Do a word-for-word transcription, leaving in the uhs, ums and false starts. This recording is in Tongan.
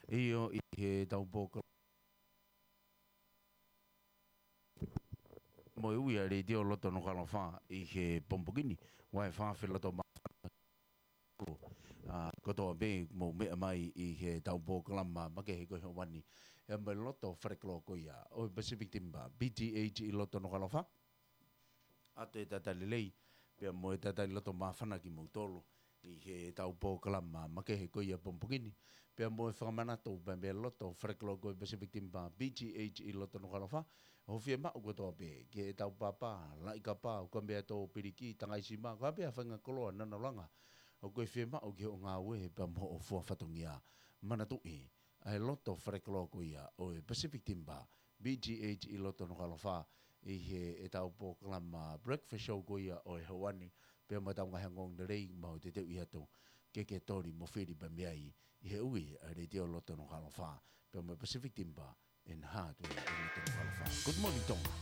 ʻIo, ʻi heʻetau polokalama mo e ui ʻa e Letiō Loto Nukuʻalofa ʻi he pongipongi ni, ʻoku ʻi ai e fakaafeʻi loto māfana ʻa kotoa pē mou meʻa mai ʻi heʻetau polokalama makehe ko e ʻaho ni, ʻi he loto falekoloa ko ia ʻo e Pacific Timber, P T H ʻi loto Nukuʻalofa. ʻOatu e talitali lelei pea mo e talitali loto māfana kimoutolu ʻi heʻetau polokalama makehe ko ia pongipongi ni, pea mo e fakamanatu pea mei he loto falekoloa ko e Pacific Timber, P T H ʻi loto Nukuʻalofa, ʻoku fiemaʻu kotoa pē ke tau pāpā, laʻi kapa, ʻo ka mea tō piliki, tangaisi mā, ko e hā pē ha faʻahinga koloa naʻa nau langa, ʻoku fiemaʻu ke ʻo ngāue pea mo hoʻo fua fatongia. Manatuʻi ʻa e loto falekoloa ko ia ʻo e Pacific Timber, P T H ʻi loto Nukuʻalofa, ʻi heʻetau polokalama breakfast show ko ia ʻo e ʻaho ni, pea mo ʻetau ngaahi ongoongo lelei ʻoku mau teuteuʻi atu ke ke toli mo fili pea mei ai, ʻi he ui ʻa e Letiō Loto Nukuʻalofa, pea mo e Pacific Timber and Hardware ʻi loto Nukuʻalofa. Good morning, Tonga.